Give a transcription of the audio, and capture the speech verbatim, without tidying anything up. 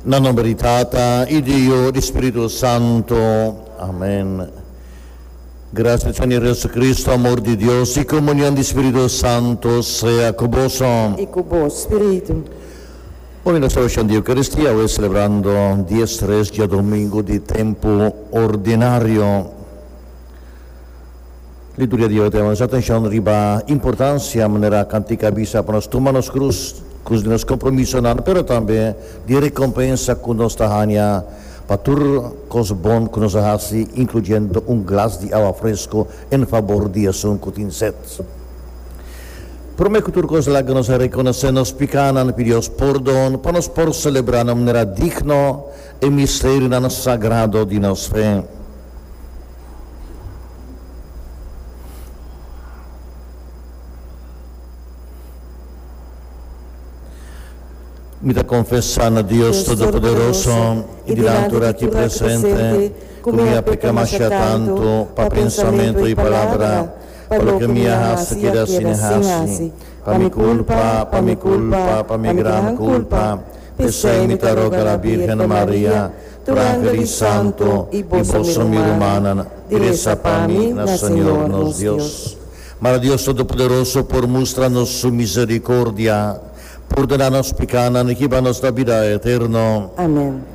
Na nomber di Tata y di Yiu y di Spirito Santo. Amen. Gracia di Señor Jesucristo, amor di Dios y comunion di Spirito Santo sea cu boso. Y cu bo spirito. Bon, nos celebracion di Eucaristia, awe celebrando diestres diadomingo di tempo ordinario. Liturgia di awe ta yama nos atencion riba importancia, manera cantica a bisa, pa nos tuma nos cruz, cruz di nos compromisonan, pero tambe di recompensa cu nos ta haña pa tur cos bon cu nos a haci, incluyendo un glas di awa fresco en fabor di esun cu tin sed. Prome cu tur cos laga nos a reconoce nos picanan, pidi Dios pordon pa nos por celebra na manera digno e misterionan sagrado di nos fe. Mi ta confesa na Dios Todopoderoso y dilanti tur aki presente cu mi a peca masha tanto pa pensamento y palabra, pa loke mi a haci keda sin haci, pa mi culpa, pa mi culpa, pa mi gran culpa. P'esei mi ta roga la Birgen Maria, tur angel y santo, y boso mi rumannan, di reza pa mi na Señor nos Dios. Mara Dios Todopoderoso por mustra nos su misericordia, pordona nos picanan y hiba nos na bida eterno. Amen.